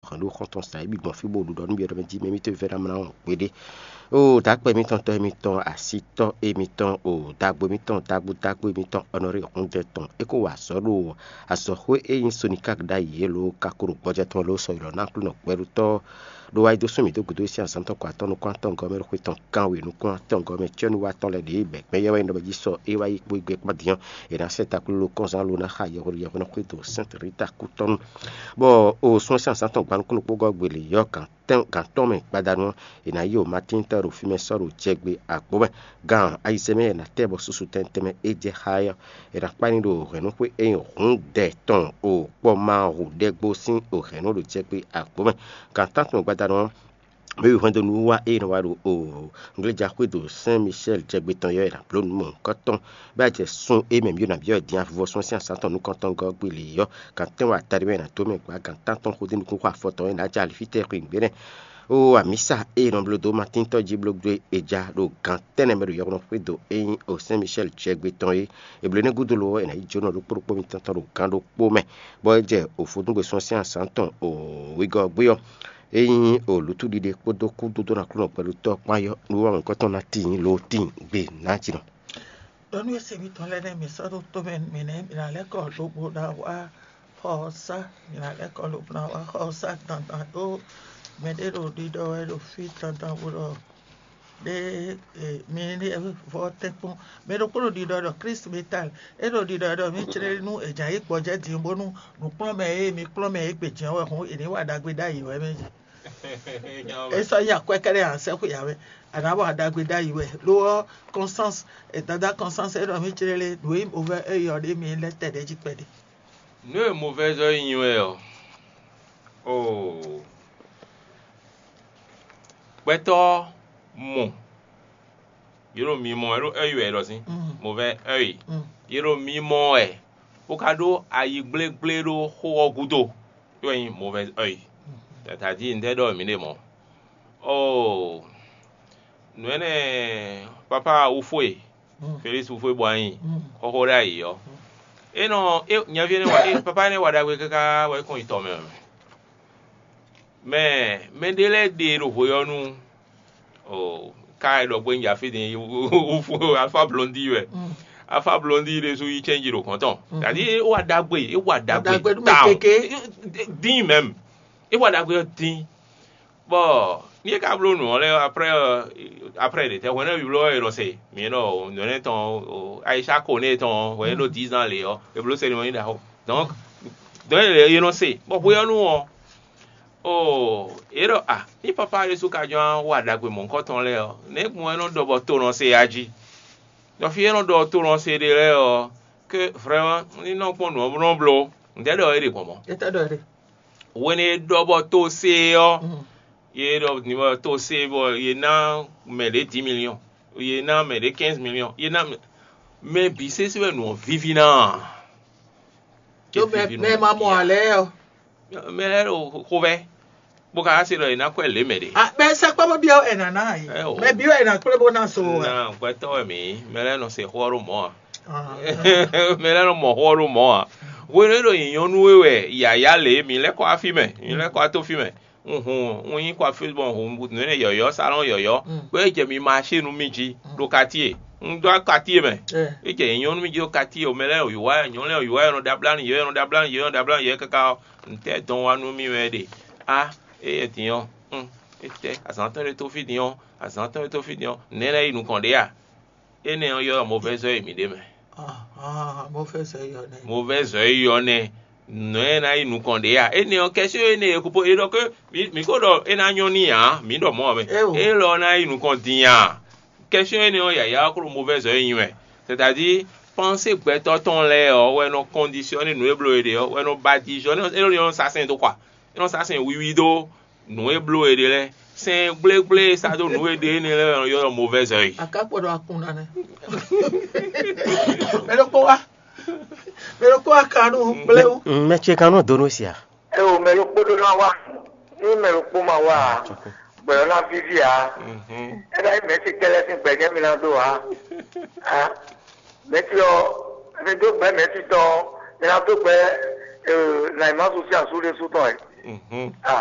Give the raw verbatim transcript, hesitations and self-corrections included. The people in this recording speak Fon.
Hɔn ɖó xɔ́ntɔn sa émi gbɔn fí bó ɖuɖɔ nú byɔ̌ɖɔ mɛ jí mɛ émítɔn vɛ́ ná mlá wɔn gbeɖé. Oo, dǎkpɛ émítɔn, tɔ́ émítɔn, asítɔ́ émítɔn, oo, dagbo émítɔn, dagbo dagbo émítɔn, ɔnɔrí hɔndɛ tɔn, é kó wa azɔ̌ ɖo azɔ̌xwé e nyí Sonika ɖ'ayǐ é lǒ, ka ko ɖo gbɔjɛ́ tɔn ló sɔ́ ylɔ̌ ná Aklúnɔ gbɛɖutɔ́ ɖó wá yi dó sú mǐ dó gǔdo e sín azǎn tɔn kɔ atɔ́ nukún atɔ́ gɔ́ mɛ ɖo xwé tɔn kánwe nukún atɔ́ gɔ́ mɛ cyɔ́núwatɔ́ lɛ́ɛ ɖě bɛ̌ gbɛ́ yɛ́ wá nyí ɖɔ mɛ jí sɔ é wá yi kpó gbé kpán din ɔ́, è nǎ sɛ́ taklúlú kɔ́nzán lo ná xa yɛhweɖo yɛhweɖɔ xwé do Sɛ́nti Rita kútɔ́ nu. Bɔ o sún ɛ sín azǎn tɔn gba nukúnnú kpó gɔ́ gbelě yɔ́ gǎn tɔn mɛ gbadanu ɔ́, è nǎ yi o Matín tɔn ɖo fí mɛ sɔ́ ɖo jɛgbe àgbo mɛ. Gan ayizɛ́n mɛ è nǎ tɛ bɔ susu tɛnmɛ tɛnmɛ é jɛ xá ɛ ɔ́, è nǎ kpá ní ɖo hɛ̌nnúxwé e nyí hǔndɛ tɔn o kpɔ́ ma hu ɖɛ́gbó sín o hɛ̌nnu ɖo jɛgbe àgbo mɛ. Gan tántɔn mɛ gbadanu ɔ́, mɛ e hwɛndo nú wá ée nɔ wá ɖo o ngléja xwé do Sɛn Micɛ́l jɛgbe tɔn yɔ́ è nǎ bló nǔ mɔ̌hunkɔtɔn, bɔ é jɛ sun e mɛ mǐ ɖo nǎ byɔ́ din avivɔsun sín azǎn tɔn nukɔntɔn gɔ́ gbili yɔ́. Gan tɛ́nwe atadímɛ è nǎ dó mɛ gbǎ, gan tántɔn xódó nukúnxó afɔtɔn e è nǎ jɛ alifítɛ́ xweyǐgbe nɛ́. Oo, amǐsa e è nɔ bló dó Matíntɔ́ jí bló gbé è ja ɖo gan tɛ́nnɛ mɛ ɖo yɔkpɔ́nɔ xwé do e nyí o Sɛn Micɛ́l jɛgbe tɔn é. È blǒ énɛ́ gúdo lo ɔ́, è nǎ yi jó nɔ ɖokpó ɖokpó mitɔn tɔn ɖo gan ɖokpó mɛ, bɔ é jɛ o vodúngbe sɔ́ sín azǎn tɔn o wegɔ́ ɔ́ gbé ɔ́, é nyí o lǔtúɖiɖe kpódó kúdódó nú Aklúnɔ gbɛɖutɔ́ kpán yɔ́ nú wá mɔ̌hunkɔtɔn ná tíin loo tíin gbe nǎjinɔ. Ɖɔ nú ése mitɔn lɛ́ɛ nɛ́ mi sɔ́ ɖó tó mɛ mi nɛ́ mi ná lɛ́ kɔ lobo ná wá xɔ ɔ́ sá, mi ná lɛ́ kɔ lobo ná wá xɔ ɔ́ sá dandan ɖó mɛɖé ɖo ɖiɖɔ wɛ ɖo fí dandan bó ɖɔ ɖé mi ní vɔ tɛ́nkpɔ́n. Mɛ ɖokpó ɖo ɖiɖɔ ɖɔ Klísu mi ta, é ɖo ɖiɖɔ ɖɔ mí jlé nú è jǎ yi gbɔjɛ́ din bónú nǔkplɔ́nmɛ e mi kplɔ́n mɛ é gbe jɛ́n wɛ hǔn è nǐ wa ɖagbe ɖ'ayǐ wɛ mɛ. É sɔ́ nyí akwɛ́ kɛ́ɖɛ́ ǎ sɛ́ xwe ǎ wɛ, a nǎ wa ɖagbe ɖ'ayǐ wɛ. Lo ɔ́, Kɔnstáns, dadá Kɔnstáns é ɖɔ mí jlé lé nǔ e nyí movɛ́ é yɔ ɖé mi lɛ́ tɛ ɖɛ̌ jí kpɛɖé. Nǔ e movɛ́zɔ́ yi nyi wɛ ɔ́, oo, gbɛtɔ́ mɔ yě ɖo mi mɔ wɛ ɖó ɔ́yi wɛ è ɖɔ sín, movɛ́ ɔ́yi, yě ɖo mi mɔ wɛ bó ka ɖó ayi gblégblé ɖó xó ɔ́ gúdo, é wɛ nyí movɛ́ ɔ́yi. Tata jí un tɛ́ ɖɔ mǐ ɖe mɔ̌. Oo, nǔ énɛ́, papá Wufue, Felísi Wufue bɔ anyi xɔxɔ ɖé ayǐ ɔ́, é nɔ é nyaví énɛ́ wa é papá énɛ́ wa ɖagbe káká wɛ é kɔn yi tɔ mɛ. Mɛ mɛɖé lɛ́ɛ ɖe ɖo hwe ɔ́ nu, o ka e ɖɔ gbɛ́nyi afí din Wufue Alfa Blɔndi wɛ. Alfa Blɔndi ɖésú yi cɛ́nji ɖo gɔ̌n tɔn. Tadi é wa ɖagbe, é wa ɖagbe Ɖagbe nú mɛ tawun. Keke. Dín mɛm. É wa ɖagbe ɔ́ dín. Bɔ ní é ka bló nǔ ɔ́ lɛ́ɛ ɔ́, après ɔ́, après ɖě tɛ́ hwɛ̌ nɛ́ bló ɔ́ è nɔ se mǐ nɔ nǔ énɛ́ tɔn, Ayisha Kone tɔn hwɛ̌ ɖo dix ans lě ɔ́, è bló cérémonie ɖaxó. Donc donc è nɔ se bɔ hwe ɔ́ nu ɔ́, oo, é ɖɔ a ní papa ɖésú ka jɔ́n wa ɖagbe mɔ̌hunkɔtɔn lɛ́ɛ ɔ́, nɛ̌ gbɔn é nɔ ɖɔ bɔ to nɔ se ya jí? Ɖɔ fí é nɔ ɖɔ to nɔ se ɖe lɛ́ɛ ɔ́, ke vraiment ní nɔ kpɔ́n nǔ ɔ́ nɔ bló. Ntɛ́ ɖɔ é ɖe gbɔn mɔ̌? Étɛ́ ɖɔ é ɖe? Hwenu e ɖɔ bɔ to se ɔ́, ye ɖɔ din bɔ to se bɔ ye ná mɛ ɖě dix million, ye ná mɛ ɖě quinze million, ye ná mɛ bǐ sésé wɛ nǔ ɔ́ víví ná. Tó mɛ mɛ ma mɔ alɛ ɔ́. Mɛ lɛ́ɛ ɖo xovɛ́ bó ka se ɖɔ ye ná kwɛ lě mɛ ɖě. Mɛ sɛkpɔ́ bó byɔ́ ɛ nǎ ná yě. Mɛ byɔ́ ɛ nǎ kplé bó ná so wɛ. Na gbɛtɔ́ wɛ mǐ, mɛ lɛ́ɛ nɔ se xó ɔ́ ɖo mɔ̌ a? Mɛ lɛ́ɛ nɔ mɔ xó ɔ́ ɖo mɔ̌ a? Hwenu e ɖo nyǐnyɔ́ nú we wɛ yǎyá lě, mǐ lɛ́ kɔ wá fí mɛ, mǐ lɛ́ kɔ wá tó fí mɛ. Un hun un yí kɔ afí bɔ un hun nǔ énɛ́ yɔ̌yɔ́, salɔ́n yɔ̌yɔ́, bɔ é jɛ mi maṣé nú mì jí ɖo katíe. Un dó katíe mɛ. É jɛ nyǐnyɔ́ nú mì jí ɖo katíe, o mɛ lɛ́ɛ yǐwá, nyɔ̌nu lɛ́ɛ yǐwá, yɔ́ nɔ ɖó ablánú yě, yɔ́ nɔ ɖó ablánú yě, yɔ́ nɔ ɖó ablánú yě káká ɔ́, ntɛ́ dɔn wá nú mì wɛ ɖe? Á, éyɛ́ din ɔ́, un, étɛ́ azǎn tɔn ɖé tó fí din ɔ́, azǎn tɔn ɖé tó fí din ɔ́, nɛ̌ lɛ́ yi nukɔn ɖě a? Énɛ́ ɔ́ ylɔ́ mɔvɛ́zɔ́ e mǐ ɖe mɛ. Mɔvɛ́zɔ́ e ylɔ́ nɛ́. Nǔ e ná yi nukɔn ɖě a? Énɛ́ ɔ́, kɛ́syɔ́ énɛ́ e kpo é ɖɔ ké mǐ kó ɖɔ é ná nyɔ́ n'i ǎ, mǐ ɖɔ mɔ̌ ɔ́ mɛ. Élɔ́ ná yi nukɔn din a? Kɛ́syɔ́ énɛ́ ɔ́, yǎyá ɔ́ kó ɖo mɔvɛ́zɔ́ e nyi wɛ. C'est-à-dire, pensée gbɛtɔ́ tɔn lɛ́ɛ ɔ́ wɛ nɔ kɔndisiyɔ́ne nú e bló e ɖe ɔ́, wɛ nɔ ba dizɔ́, é nɔ sá sɛn dó kɔ a? É nɔ sá sɛn wiwi dó nǔ e bló è ɖe lɛ́ɛ. Sɛn gblégblé e sá dó nǔ e ɖe énɛ́ lɛ́ɛ ɔ́ ylɔ́ mɔvɛ́zɔ́ e. Akákpɔ́ ɖo akun ná nɛ́. Mɛ ɖokpó wá. Mɛ ɖokpó wá kan nú gblé wú. Mɛ ce kan nɔ dó nú sia. É o mɛ ɖokpó ɖó ná wá. Ní mɛ ɖokpó ma wá a, gbɛ̌ ɔ́ ná víví ǎ. É ná nyí mɛ̌si kɛ́lɛ́ sín gbɛ̌ jɛ́n mi ná dó ǎ. Mɛ̌si ɔ́, mi dó gbɛ̌ mɛ̌si tɔn ɔ́, mi ná dó gbɛ̌ Nayimású sín asú ɖésú tɔn ɛ.